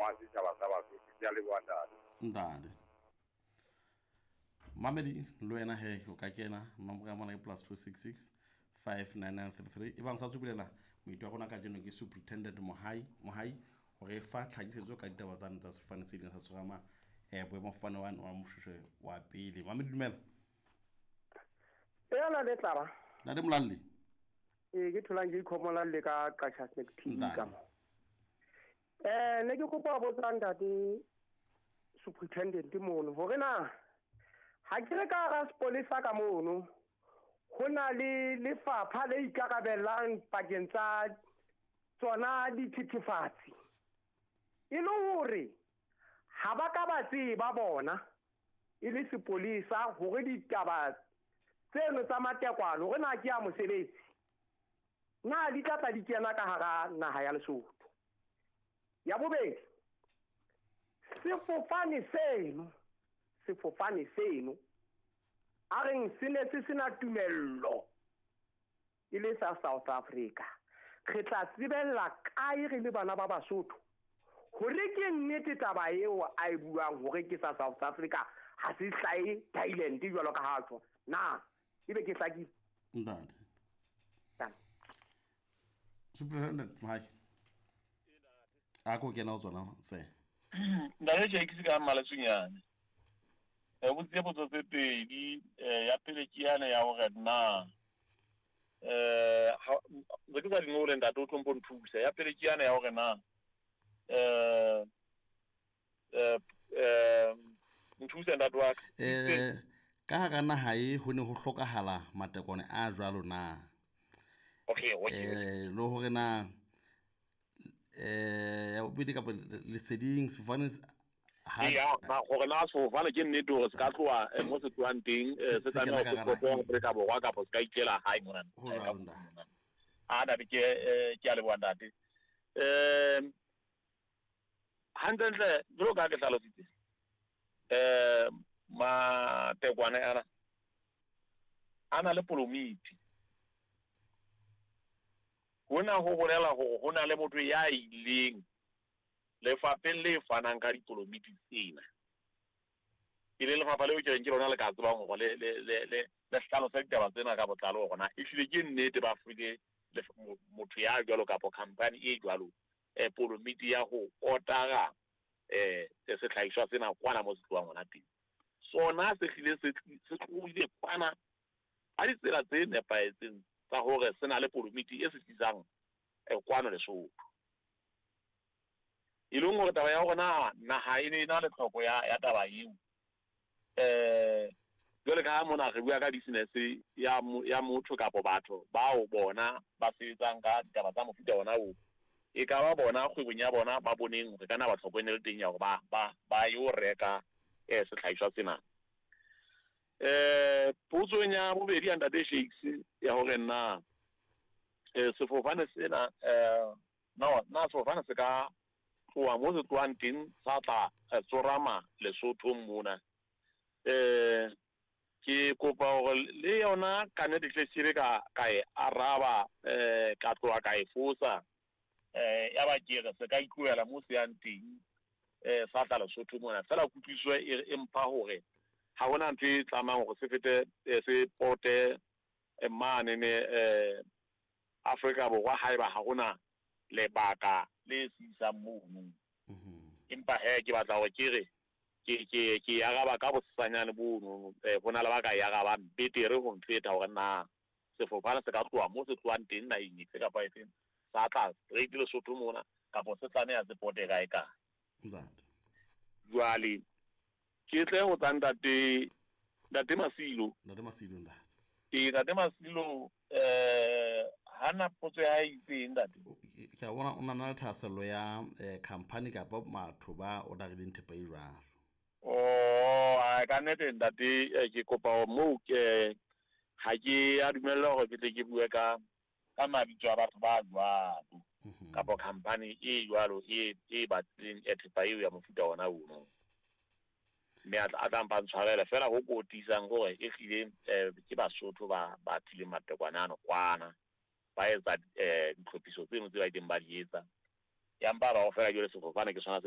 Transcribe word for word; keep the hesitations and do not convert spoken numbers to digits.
a setjhaba sa Basotho. Ke a leboha, ntate. Ntate mamedi, le wena he o ka kena nomoro ya mona ke plus two six six five nine nine three three. E bang sa tsobulela moito wa rona kajeno ke Superintendent Mohai Mohai hore fa tlhakisetso ka ditaba tsane tsa sefofane se ileng sa tshwarama um boemafofane wane wa Moshoeshoe wa pele. Mamedi, dumela. Ela le tlaba. Ntate Molalli. Ee, ke tholang ke ikhomola le ka Qacha Snack T V ka Ntate. mo. Eh ne ke kopa ho botsa ntate superintendent mono hore na ha ke re ka hara sepolesa ka mono ho na le lefapha le ikarabellang pakeng tsa tsona dithethefatsi, e le hore ha ba ka ba tseba bona e le sepolesa hore ditaba tseno tsa matekwane hore na ke ya mosebetsi na di tla tla di kena ka hara naha ya Lesotho. Ya bobedi, sefofane seno sefofane seno a reng se ne se sena tumello e le sa South Africa, re tla tsebella kae re le bana ba Basotho hore ke nnete taba eo a e buang hore ke sa South Africa, ha se hlahe Thailand jwalo ka ha tjho na? Ebe ke hlakile? Ntate. Tana. Superintendent Mohai, a ko kena ho tsona se. Ntate Jakes ka Maletsunyane, um botsitse potso tse pedi. um ya pele ke yane ya hore na um ntse ke sa di ngole, ntate, o tlo mpo nthusa. Ya pele ke yane ya hore na um um nthuse, ntate wa ka. Eh, ka hara naha e ho ne ho hlokahala matekwane a jwalo na? okay okay Eh, le hore na eh ya bobedi kapa leseding sefofane se- ha Ya, na gore na sefofane ke nnete hore se ka tloha eh, mo se tlohang teng eh, Se- se se tlameha kena hore ka se hara pote Afrika Borwa kapa se ka ikela hae mona? Ho eh, ka jwalo, ntate. mona. A ntate, ke eh, ke a leboha, ntate. um hantlentle jwalo ka ha ke hlalositse, um matekwane ana a na le polomiti. Hona ho bolela hore ho na le motho ya ileng lefapheng le fanang ka dipolomiti tsena, e leng lefapha leo ke reng ke lona le ka tsebang hore le le le le le hlalose ditaba tsena ka botlalo, hore na ehlile ke nnete ba file lef- mo- motho ya jwalo kapo company e jwalo eh polomiti ya ho otara eh sehlahiswa sena kwana mo se tlohang hona teng. Sona se hlile se tli- se tlohile kwana ka ditsela tse nepahetseng tsa hore se na le polomiti e se tlisang eh, kwano Lesotho. E leng hore taba ya hore na naha e ne e na le tlhoko ya ya taba eo, eh jwale ka ha mona re bua ka business ya mo- ya motho kapo batho bao bona ba sebetsang ka ditaba tsa mofuta ona oo, e ka ba bona kgwebong ya bona ba boneng hore ka na ba tlhoko e ne le teng ya hore ba ba ba yo reka eh sehlahiswa sena. eh potsong ya bobedi ya ntate Shakes ya hore na eh sefofane sena eh no na sefofane se ka tloha mo se tlohang teng sa tla eh, tsorama Lesothong mona, eh ke kopa hore le yona ka nnete hle se ka ka e araba eh ka tloha ka e fosa eh ya ba ke re se ka itlohela mo se yang teng eh sa tla Lesotho mona. Fela kutlwisiso e e mpha hore ha hona ntho e tlamang hore se fete eh, se pote eh, mane ne eh Afrika Borwa haeba ha hona lebaka le se isang mono. Empa he ke batla hore ke re ke ke ke araba ka bosanyane bono, eh hona le ba ka e arabang betere ho nfeta hore na sefofane se ka tloha mo se tlohang teng naheng efe kapa efeng sa tla straight Lesotho mona kapa se tlameha se pote kae kae. Ntate. Jwale ke tle ho tsa ntate ntate Masilo. Ntate Masilo, ntate. Ee, ntate Masilo, eh hana potso ya hae itseng, ntate? O- ke ke a bona o na na le thahasello ya eh, company kapa batho ba orderileng thepa e jwalo. Oh, ai, ka nnete ntate, eh, ke kopa hore moo ke ha ke a dumella hore ke tle ke bue ka ka mabitso a batho ba jwalo kapa company e jwalo e e batlileng e thepa eo ya mofuta ona ono, mme a tla a tla mpa ntshwarela. Fela ho ko tiisang hore e hlile eh, ke Basotho ba ba tlileng matekwane ano kwana ba etsa eh ditlhophiso tseno tse ba ileng ba di etsa, ya mpa ba o fela jwale sefofane ke sona se.